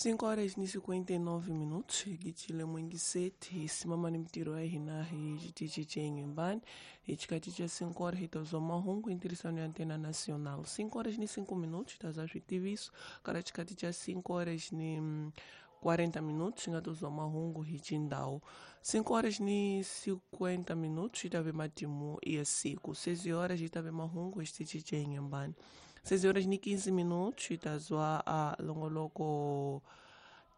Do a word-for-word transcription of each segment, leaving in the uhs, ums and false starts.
Cinco horas ni cinquenta e nove minutos, gitile mwingiseti hi simama ni mitirho ya hina hi xitichi xa Inhambane hi xikati xa cinco horas hi ta zwa mahungu hi ntirhisano ya Antena Nacional. Cinco horas ni cinco minutos ta za switiviso kala xikati xa cinco horas ni quarenta minutos nga to zwa mahungu hi xindhawu. Cinco horas ni cinquenta minutos hi ta ve matimu ya siku. Seis horas hi ta ve mahungu hi xitichi xa Inhambane. Seis horas ni quinze minutos hi ta zwa a longoloko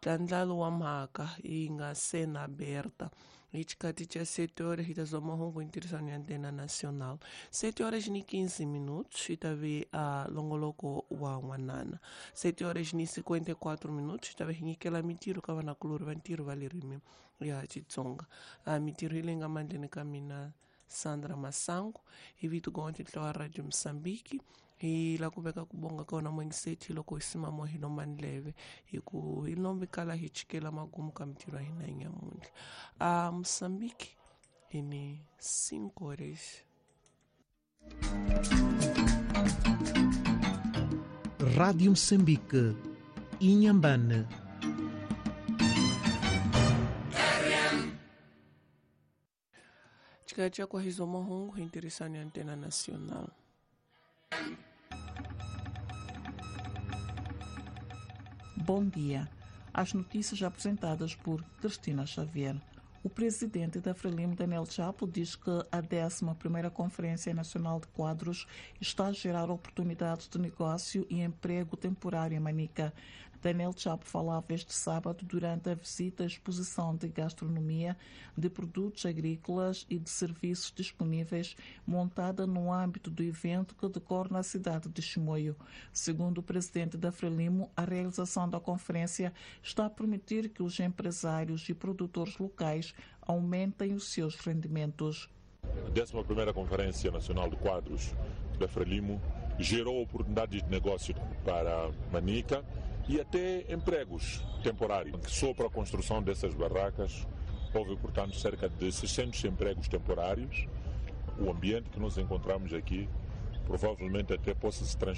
tlandlalo wa mhaka yi nga sena aberta. Hi xikati xa sete horas hi ta zwa mahungu hi ntirhisano ya Antena Nacional. Sete horas ni quinze minutos hi ta ve a longoloko wa n'wanana. Sete horas ni cinquenta e quatro minutos hi ta ve hi nyikela mitirho ka vanakulorhi va ntirho va ririmi ya Xitsonga. A mitirho yi leyi nga mandleni ka mina Sandra Masango hi vito gonti tlowa Radio Mozambique. Hi la ku veka ku bonga ka wona mwingiseti loko hi simamo hi lomba ndleve hi ku hi lombi kala hi chikela magumu ka mitirho ya hina nyamuntlha. A Mozambique hi ni cinco horas. Rádio Moçambique, Inhambane. Chikati kwa hizo mahungu hi ntirhisano ya Antena Nacional. Bom dia. As notícias apresentadas por Cristina Xavier. O presidente da Frelimo, Daniel Chapo, diz que a décima primeira Conferência Nacional de Quadros está a gerar oportunidades de negócio e emprego temporário em Manica. Daniel Chapo falava este sábado durante a visita à exposição de gastronomia, de produtos agrícolas e de serviços disponíveis montada no âmbito do evento que decorre na cidade de Chimoio. Segundo o presidente da Frelimo, a realização da conferência está a permitir que os empresários e produtores locais aumentem os seus rendimentos. A décima primeira Conferência Nacional de Quadros da Frelimo gerou oportunidades de negócio para Manica e até empregos temporários. Só para a construção dessas barracas houve, portanto, cerca de seiscentos empregos temporários. O ambiente que nós encontramos aqui provavelmente até possa se transformar